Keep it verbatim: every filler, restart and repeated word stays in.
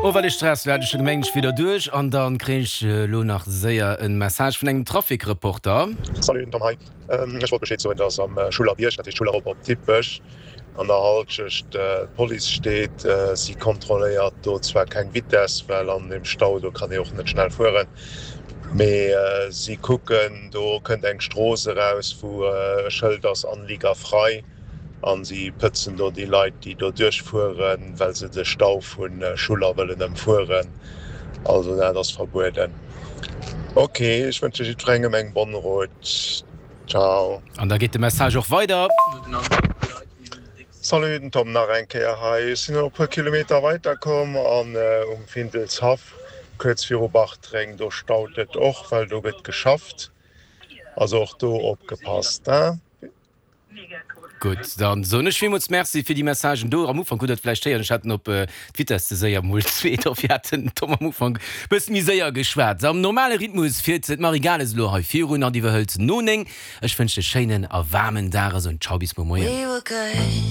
Oh, well de Stress war scho gemengt wieder duerch an dann kréien ech lo nach séier e Message vun engem Trafikreporter. Salut, den Tom hei. Ech wollt Bescheed soen, dass am Schullerbierg, dat heescht Schuller op op Dippech, an der Halschecht d'Police steet. Si kontrolléiert do zwar keng Vitess, well an deem Stau do kann ee och net schnell fueren, mee si kucken, do kënnt eng Strooss eraus, wou e Schëld ass Anlieger frei. An si pëtzen do déi Leit, déi do duerchfueren, well se de Stau vu Schuller wëllen ëmfueren. Also dat ass verbueden. Ok, ech wënsche jiddwerengem eng bonne route. Ciao. An da geet de Message och weider. Salut, den Tom nach eng Kéier hei. Ech sinn elo e puer Kilometer weider komm an um Findelshaff, kuerz viru Bartreng, do staut et och, well do gëtt geschafft. Also och do opgepasst, hein. Gutt, dann soen ech villmools Merci fir déi Messagen do. Am Ufank hutt Der et vläicht héieren, ech hat en op d'Vitess ze séier mol zwee, dofir hat den Tom am Ufank e bësse méi séier geschwat. Am normale Rhythmus fiert d'Marie Gales elo hei virun an iwwerhëlt no néng. Ech wënschen e schéinen a waarmen Dag a soen Ciao bis muer Moien.